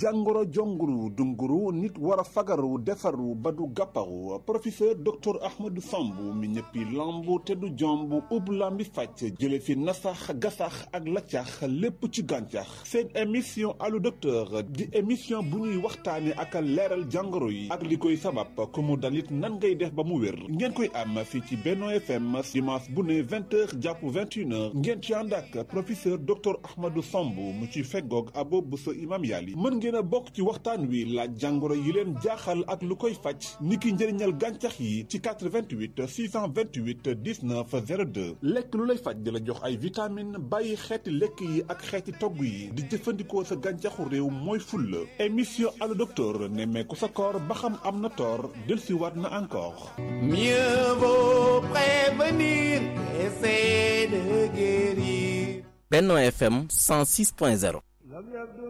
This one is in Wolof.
jàngoro jonguru dunguru nit war a fagaru defaru ba du gàpparu professeur docteur Ahmadou Samb mi ñëppi lambu te du jomb ub lambi fàcc jële fi nasax gasax ak laccax lépp ci gàncax seen émission allo docteur di émission bu ñuy waxtaane ak leeral jàngoro yi ak li koy sabab ku mu dalit nan ngay def ba mu wér ngeen koy am fii ci Benno FM dimanche bu ne 20h jàpp 21h ngeen ci ànd ak professeur docteur Ahmadou Samb mu ci feggoog abo bu sa imam yàlli mën ngeen a bokk ci waxtaan wi laaj jàngoro yi leen jaaxal ak lu koy faj niki njëriñal gàncax yi ci 88 628 19 02 lekk lu lay faj di la jox ay vitamine bàyyi xeeti lekk yi ak xeeti togg yi di jëfandikoo sa gàncaxu réew mooy fulla émission allo docteur nemmeeku sa koor ba xam am na toor dellusiwaat na encore. Mieux vaut prévenir qu'essayer de guérir. Benno FM 106.0